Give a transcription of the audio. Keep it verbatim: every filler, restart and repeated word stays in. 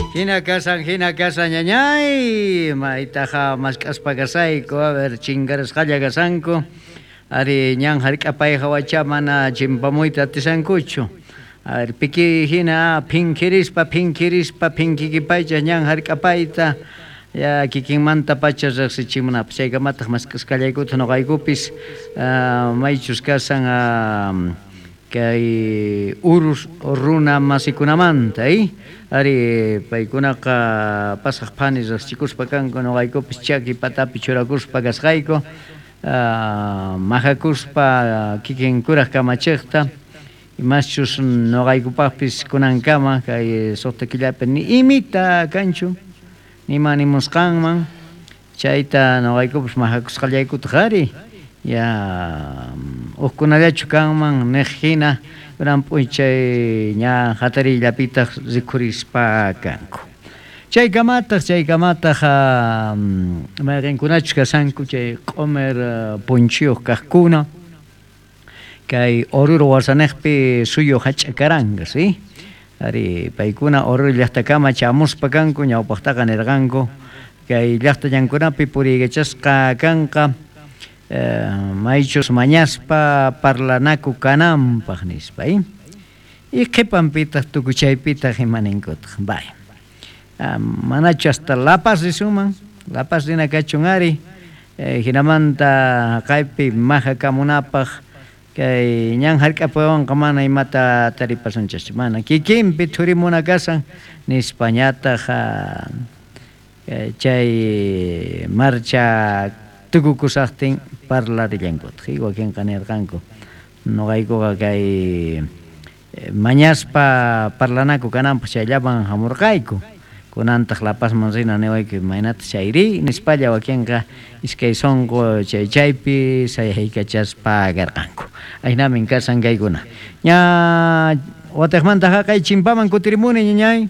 Hina kasan, hina kasan, ñañay, maytaqa mask'aspa kasayku, a ver, chinkarasqalla kasanku, ari ñan hark'apay hawacha mana chimpamuyta atisankuchu. A ver, piki hina phinkirispa, phinkirispa, phinkikipaycha ñan hark'apayta, ya kikinmanta pacha riqsichimunapaq, chaykamataq mask'asqallaykuta nuqaykupis, uh, maychus kasan uh, kay urus runa masikunamanta, eh? Ari paykunaqa pasaq phani riqsichikuspa kanku nuqaykupis chaki patapi churakuspa kasqayku, uh, majakuspa kikin kuraq kamachiqta, imaschus nuqaykupaqpis kunankama kay suqta killapi ni imita kanchu, nima nimusqanman, chayta nuqaykupis majakusqallaykutaq ari, ya hukkunallachu kanman niq hina kunan p'unchay ña hatariyllapitaq rikhurispa kanku. Chaykamataq, chaykamataq mayqinkunachus kasanku chay q'umir punchiyuq kaqkuna kay Oruro wasaniqpi suyu hach'akaranqa, ¿sí? Ari paykuna Oruro llaqtakama chamuspa kanku, ñawpaqtaqa nirqanku kay llaqta ñankunapi puriykachasqa kanqa, Eh, maychus mañaspa parlanaku kananpaq nispa, ¿eh? Y qhipanpitaq tukuchaypitaq imaninkutaq, vaya. Ah, manachu hasta La Paz risuman, La Paz rina kachun ari, eh, hinamanta kaypi majakamunapaq kay ñan hark'apuwanqa mana imata taripasunchaschu, mana kikinpi thurimuna kasan nispa ñataq, ah, chay marcha tukukusaqtin parlarillankutaq, wakinqa nirqanku nuqaykuqa kay mañaspa parlanaku kananpaq chayllaman hamurqayku, kunantaq La Pazman rina niwayku imaynataq chayri nispalla wakinqa iskay sunqu chay chaypi sayaykachaspa karqanku. Aynamin kasan kaykuna. Ña watiqmanta haqay chimpaman kutirimuni ñañay.